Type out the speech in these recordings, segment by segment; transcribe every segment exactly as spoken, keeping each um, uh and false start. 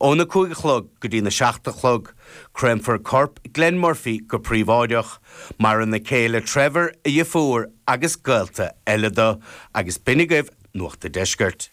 Óna cúig a chlog go dtí na seacht a chlog, Créamfar corp Glenn Murphy go príobháideach, maireann a chéile Trevor a dheirfiúr agus gaolta eile dó, agus b'in agaibh Nuacht an Deiscirt.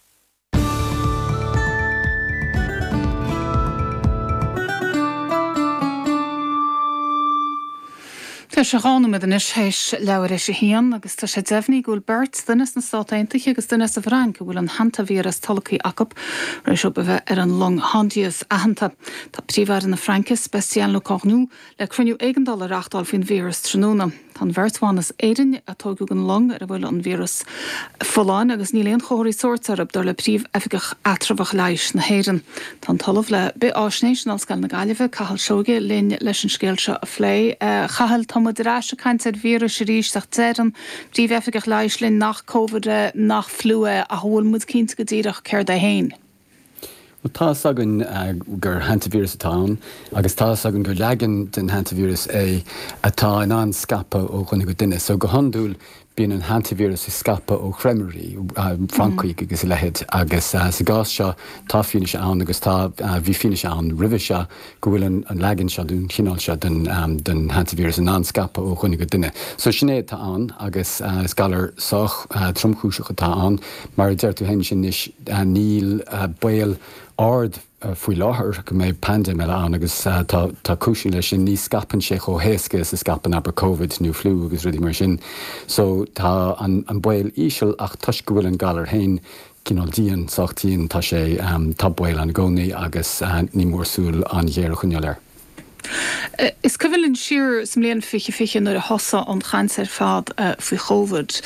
Tá sé dhá nóiméad anois théis leathuair théis a haon agus tá sé deimhnithe go bhfuil beirt duine sna Stáit Aontaithe agus duine sa bhFrainc a bhfuil an hantavíreas tolgtha acu tar éis dóibh a bheith ar an long Hondius aitheanta. Tá Príomh-Aire na Fraince Sébastien Lecornu le cruinniú éigeandála a reáchtáil faoin víreas tráthnóna. Tá an bheirt bhan as Éirinn a tógadh den long ar a bhfuil an víreas folláin agus níl aon chomharthaí sóirt orthu dar le príomh-oifigeach eatramhach leighis na hÉireann. Tá an tOllamh le Bith-Fháisnéis in Ollscoil na Gaillimhe, Cathal Seoighe linn leis an scéal seo a phlé. Chathail tá muid ar ais ag caint ar víris arís ach deir an príomh-oifigeach leighis linn nach Covid é, nach fliú é ach bhfuil muid cinnte go díreach céard é féin. Well, tá fhios againn uh, gur hantavíreas atá ann, agus tá fhios againn gur leagan den hantavíreas é atá in ann scaipeadh ó dhuine go duine. So go hiondúil bíonn an hantavíreas ag scaipeadh ó chreimirí, uh, francaigh agus a leithéid, agus uh, sa gcás seo tá fianaise ann agus tá uh, bhí fianaise ann roimhe seo go bhfuil an, an leagan seo den chineál seo den, um, den hantavíreas in ann scaipeadh ó dhuine go duine. So sin é atá ann agus uh, is galar sách uh, tromchúiseach atá ann, mar a deir tú féin sin anois uh, níl uh, baol ard uh, faoi láthair go mbeidh paindéim eile ann agus uh, tá tá cúiseanna leis sin ní scaipeann sé chomh héasca is a scaipeann abair COVID nó fliú agus rudaí mar sin. So tá an, an baol íseal ach toisc go bhfuil an galar féin cineál dian sách dian tá sé um, tá baol ann i gcónaí agus uh, ní mór súil an-ghéar a choinneáil air. Is cuimhin linn siar sa mbliain fiche fiche nuair a thosaigh an chaint ar fad uh, faoi Covid.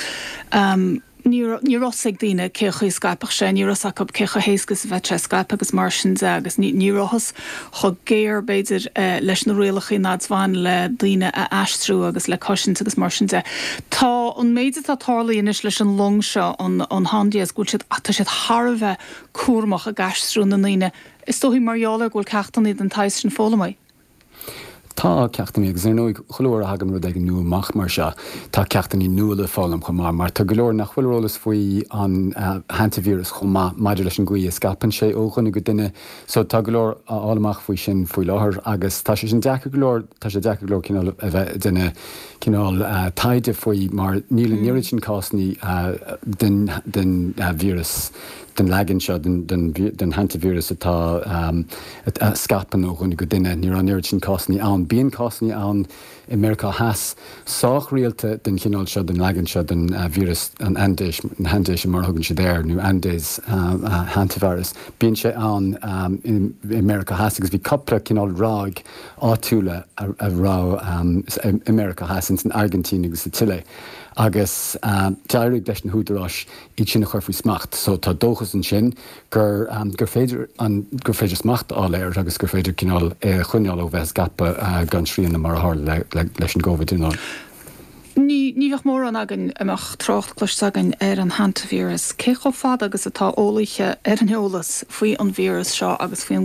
Um, ní raibh fhios ag daoine cé chaoi scaipfeadh sé, ní raibh fhios acu cé chomh héasca is a bheadh sé scaipthe agus mar sin de agus ní rabhthas chomh géar b'fhéidir uh, leis na rialacha a bhain le daoine a aistriú agus le cosaint agus mar sin de. Tá an méid atá tarlaithe anois leis an long seo an an Hondius go bhfuil siad tá siad thar a bheith cúramach ag aistriú na ndaoine. Is dóigh mar gheall ar go bhfuil ceachtanna den tsaghas sin foghlamtha. Tá ceachtanna agus ar ndóigh chuile uair a thagann rud éigin nua amach mar seo tá ceachtanna nua le foghlaim chomh maith mar tá go leor nach bhfuil eolas faoi an uh, hantavíreas chomh maith maidir leis an gcaoi a scaipeann sé ó dhuine go duine so tá go leor á fháil amach faoi sin faoi láthair agus tá sé sin deacair go leor tá sé deacair go leor cineál a bheith duine cineál uh, taighde faoi mar níl an mm. oiread sin cásanna uh, den den uh, víreas den leagan seo den, den, den hantavíreas atá um, a scaipeann ó dhuine go duine níl an oiread sin cásanna ann. Bíonn cásanna ann i Meiriceá Theas sách rialta den chineál seo den leagan seo den uh, víreas an Andes an Andes mar thugann siad air nó Andes uh, uh, hantavirus. Bíonn sé ann um, in, i Meiriceá Theas agus bhí cúpla cineál ráig áitiúla a, a raibh um, i Meiriceá Theas in san Airgintín agus sa tSile. Agus um, d'éirigh leis na húdaráis iad sin a chur faoi smacht, so tá dóchas ansin gur um, gur féidir an gur féidir smacht a fháil air agus gur féidir cineál é a choinneáil ó bheith scaipthe uh, gan srian mar a tharla le, le, leis an gCovid ná. Ní ní bheadh mórán againn a mbeadh trácht cloiste againn ar an hantavíreas, cé chomh fada agus atá eolaithe ar an eolas faoi an víreas seo agus faoin